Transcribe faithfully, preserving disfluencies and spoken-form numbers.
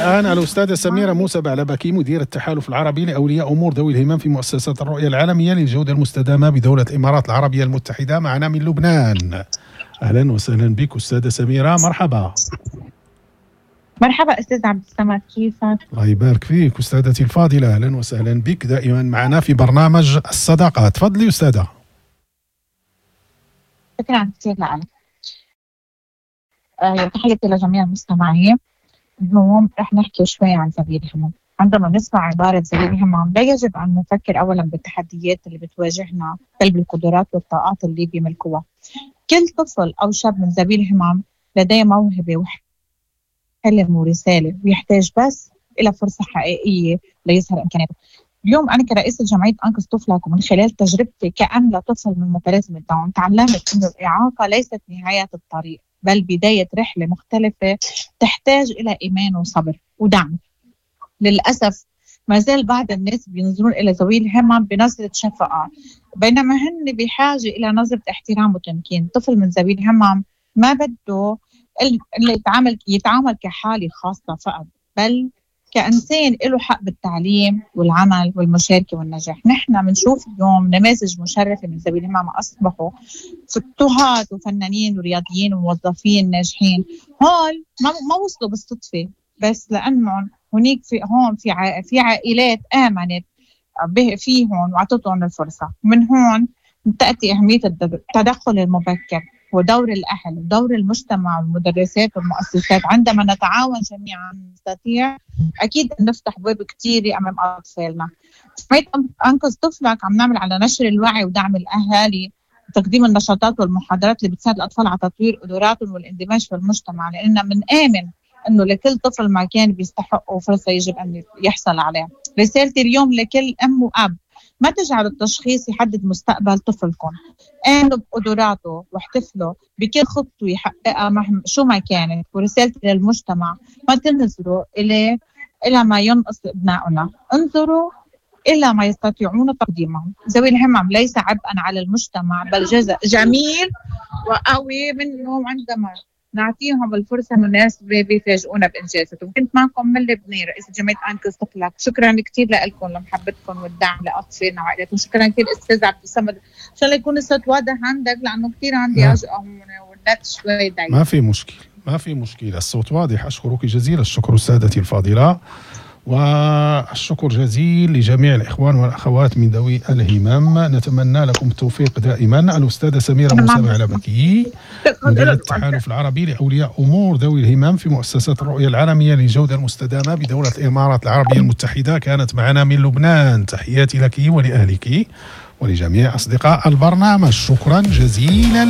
الآن الأستاذة سميرة موسى بعلبكي، مدير التحالف العربي لأولياء أمور ذوي الهمم في مؤسسة الرؤية العالمية للجودة المستدامة بدولة الإمارات العربية المتحدة، معنا من لبنان. أهلا وسهلا بك أستاذة سميرة، مرحبا. مرحبا أستاذ عبد الصمد، كيفك؟ الله يبارك فيك أستاذتي الفاضلة، أهلا وسهلا بك دائما معنا في برنامج الصداقة. تفضلي أستاذة. شكرا كثير لك. آه، تحياتي لجميع المستمعين. اليوم رح نحكي شوي عن ذوي الهمم. عندما نسمع عبارة ذوي الهمم لا يجب أن نفكر أولا بالتحديات اللي بتواجهنا، بل بالقدرات والطاقات اللي بيملكوها. كل طفل أو شاب من ذوي الهمم لديه موهبة وحلم ورسالة، ويحتاج بس إلى فرصة حقيقية ليظهر إمكاناته. اليوم أنا كرئيسة جمعية أنقذ طفلك، ومن خلال تجربتي كأم لطفل من متلازمة داون، تعلمت أنه الإعاقة ليست نهاية الطريق، بل بداية رحلة مختلفة تحتاج إلى إيمان وصبر ودعم. للأسف ما زال بعض الناس بينظرون إلى ذوي الهمم بنظرة شفقة، بينما هن بحاجة إلى نظرة احترام وتمكين. طفل من ذوي الهمم ما بده اللي يتعامل يتعامل كحالة خاصة فقط، بل كإنسان له حق بالتعليم والعمل والمشاركة والنجاح. نحن بنشوف اليوم نماذج مشرفة من ذوي الهمم أصبحوا طهاة وفنانين ورياضيين وموظفين ناجحين. هول ما ما وصلوا بالصدفة، بس لأنهم هنيك في هون في في عائلات آمنت فيهم وأعطتهم الفرصة. من هون تأتي أهمية التدخل المبكر ودور الأهل ودور المجتمع والمدرسات والمؤسسات. عندما نتعاون جميعا نستطيع أكيد أن نفتح أبواب كثيرة أمام أطفالنا. جمعية أنقذ طفلك عم نعمل على نشر الوعي ودعم الأهالي وتقديم النشاطات والمحاضرات اللي بتساعد الأطفال على تطوير قدراتهم والاندماج في المجتمع، لأننا بنآمن أنه لكل طفل ما كان بيستحقه فرصة يجب أن يحصل عليها. رسالتي اليوم لكل أم وأب، ما تجعلوا التشخيص يحدد مستقبل طفلكم. آمنوا بقدراته واحتفلوا بكل خطوة يحققها مهما شو ما كانت. ورسالتي للمجتمع، ما تنظروا إلى إلى ما ينقص أبنائنا، انظروا إلى ما يستطيعون تقديمه. ذوي الهمم ليس عبئا على المجتمع، بل جزء جميل وقوي منهم. عندما نعطيهم الفرصة المناسبة بيفاجئونا بإنجازاتهم. كنت معكم من لبنان، رئيسة جمعية أنقذ طفلك. شكرا كثير لكم لمحبتكم والدعم لأطفالنا وعائلاتهم. شكرا كثير أستاذ عبد الصمد، إن شاء الله يكون الصوت واضح عندك، لأنه كثير عندي عجقة هون والنت شوي ضعيف. ما في مشكلة، ما في مشكلة، الصوت واضح. أشكرك جزيل الشكر أستاذتي الفاضلة، والشكر جزيل لجميع الإخوان والأخوات من ذوي الهمم. نتمنى لكم التوفيق دائما. الأستاذة سميرة موسى بعلبكي، مديرة التحالف العربي لأولياء أمور ذوي الهمم في مؤسسة الرؤية العالمية للجودة المستدامة بدولة الإمارات العربية المتحدة، كانت معنا من لبنان. تحياتي لك ولأهلك ولجميع أصدقاء البرنامج، شكرا جزيلا.